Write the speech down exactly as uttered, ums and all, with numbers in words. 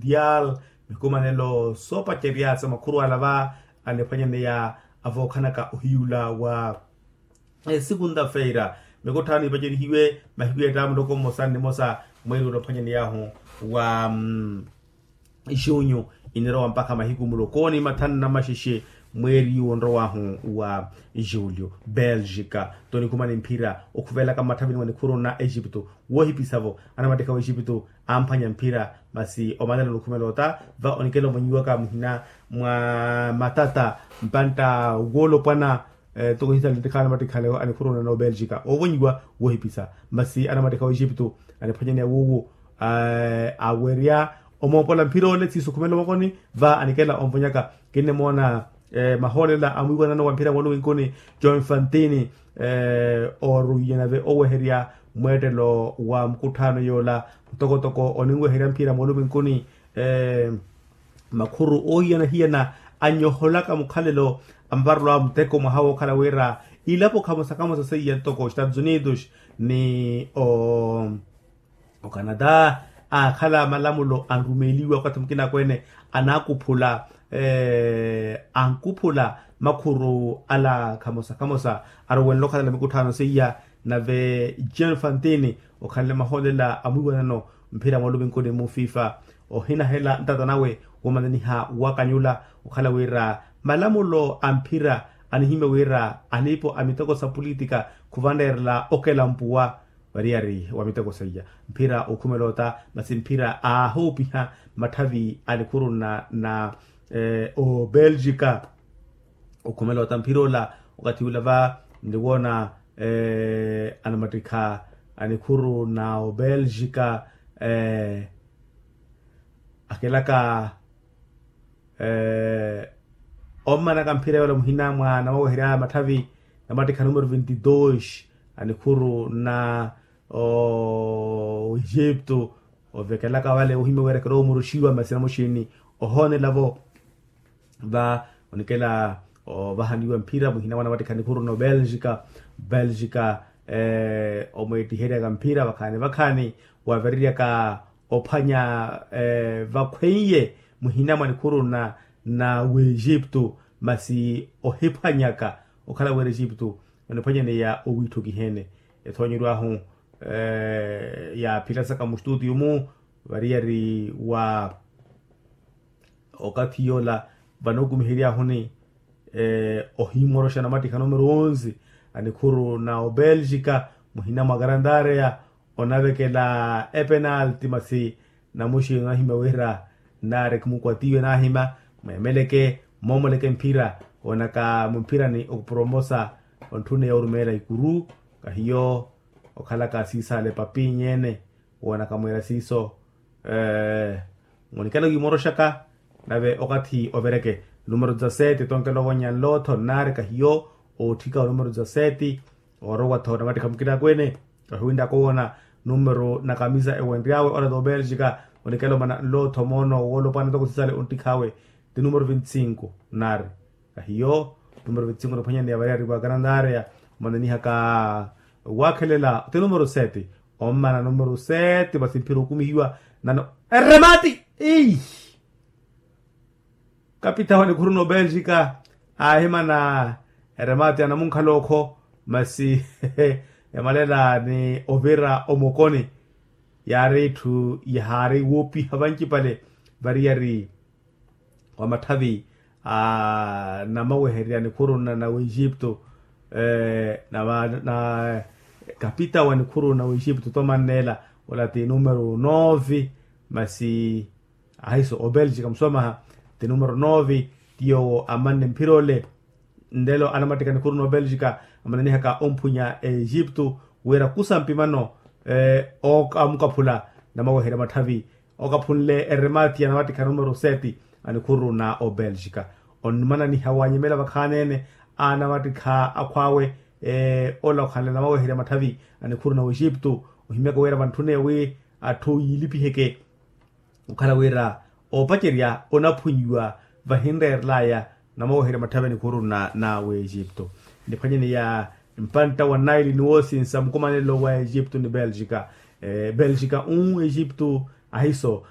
mondial, mikumanelo soopacerya sa makhuru ala va aniphwanyaneya avookhanaka ohiyula wa segunda-feira. Mikutthano ipacerihiwe mahiku ya ettaamu muloko mmosa ni mmosa mweeri ula ophwanyaney'ahu wa junyu, inirowa mpakha mahiku muloko ni mathanu na maxexe mweeri onrow'ahu wa julio. Belgica tonikhumani mphira okhuvelaka mmatthavini wa nikhuru na egipto. Woohipisa-vo anamattikha wa egipto amphwanya mphira masi omanela onikhumela ota va onikela ovonyiwaka muhina mwa matata mpantta woolopwana. Ntoko hisalintikha anamattikha anikhuru na obelgica ovonyiwa woohipisa masi anamattikha wa egipto aniphwanyaneya wuwo awerya omoopola mphira ole siiso okhumela omokoni va anikela onvonyaka. Kinnimoona mahoolela a mwiiwanano wa mphira mooluminkuni joe mfantini oruiye nave oweherya mweettelo wa mukutthano yoola ntokotoko oninweherya mphira mooluminkuni makhuru oohiyana-hiyana anyoholaka mukhalelo a maparelo a muteko mwaha wookhala wira ilapo khamosa-khamosa seiya ntoko estados unidos ni o ocanada aakhala malamulo anrumeeliwa wakathi mukina akweene anaakuphula ankuphula makhuru ala khamosa-khamosa aruwenle okhalela mikutthano seiya nave joe mfantini okhanle mahoolela a mwiiwanano mphira mooluminkuni mu fifa ohinahela ntata nawe womananiha wakanyula okhala wira malamulo a mphira anihimya wira alipo a miteko sa pulitika khuvaneerela okela mpuwa variyari wa miteko seiya mphira okhumela ota masi mphira aahoopiha matthavi a nikhuru na na obelgica okhumela ota mphira ola wakathi ula va nliwoona anamattikha a nikhuru na obelgica akelaka ommanaka mphira yola muhina mwa namaweherya matthavi namattikha numero vinte dos a nikhuru na o egipto ovekelaka vale ohimya wira kirowa omuruxiwa masi namuxini ohoonela-vo va onikela ovahaniwa mphira muhina mwa namattikha a nikhuru na obelgica belgica omweettiheryaka mphira vakhaani vakhaani wavereryaka ophwanya vakhweiye muhina mwa nikhuru na na w'egipto masi ohiphwanyaka okhala wira egipto oniphwanyaneya owiitthukiheene ethoonyeryo ahu yaaphilasaka mustutiyo-mu variyari wa okathi yoola vanookumiheryahuni ohimoroxa namattikha numero onze a nikhuru na obelgica muhina mwa garantareya onavekela epenalti masi namuxi onahimya wira nnaari khumukwatiwe nahimya mweemeleke moomoleke mphira onaka mumphirani okupromosa ontthuneya orumeela ikuru kahiyo okhalaka siisaale papinyeene woonaka mweera siiso munikela wiimoroxaka nave okathi overeke numero dezasete tonkela ovonya nlootho nnaari kahiyo ootthika onumero dezasete oorowa-tho namattikha mukina akweene kahiwinttaka owoona numero na kamisa ewenry'awe ola t'obelgica onikela omana nlootho moono woolopwana ntoko sisale onttikh'awe ti numero vinti sinku nnaari kahiyo numero vinti sinku niphwanyaneya variyari wa garantareya omananihaka waakhelela ti numero sete ommana numero sete masi mphira okumihiwa nano eremati kapitaho a nikhuru na obelgica aahimana eremati anamunkhala okho masi yamalela ni ovira omokoni yaari etthu yahaari woopiha vancipale variyari wa matthavi a namawehererya nikhuru na w'egipto na kapita wa nikhuru na w'egipto tomanneela ola ti numero nove masi ahiso obelgica muswamaha ti numero nove ti yoowo amanne mphira ole nlelo anamattika nikhuru na obelgica amananihaka omphunya egipto wira kusa mpimano okamukaphula namaweherya matthavi okaphunle eremati anamattikha numero sete a nikhuru na obelgica onmananiha wanyemela vakhaani-ene anamattikha akhw'awe ola okhanle namaweherya matthavi a nikhuru na w'egipto ohimyaka wira vantthune wi atthu yiilipiheke okhala wira oopacerya onaphunyiwa vahinreerelaya namaweherya matthavi a nikhuru na w'egipto niphwanyaneya mpantta wa naili ni woosinsa mukumanelo wa egipto ni belgica belgica u egipto ahiso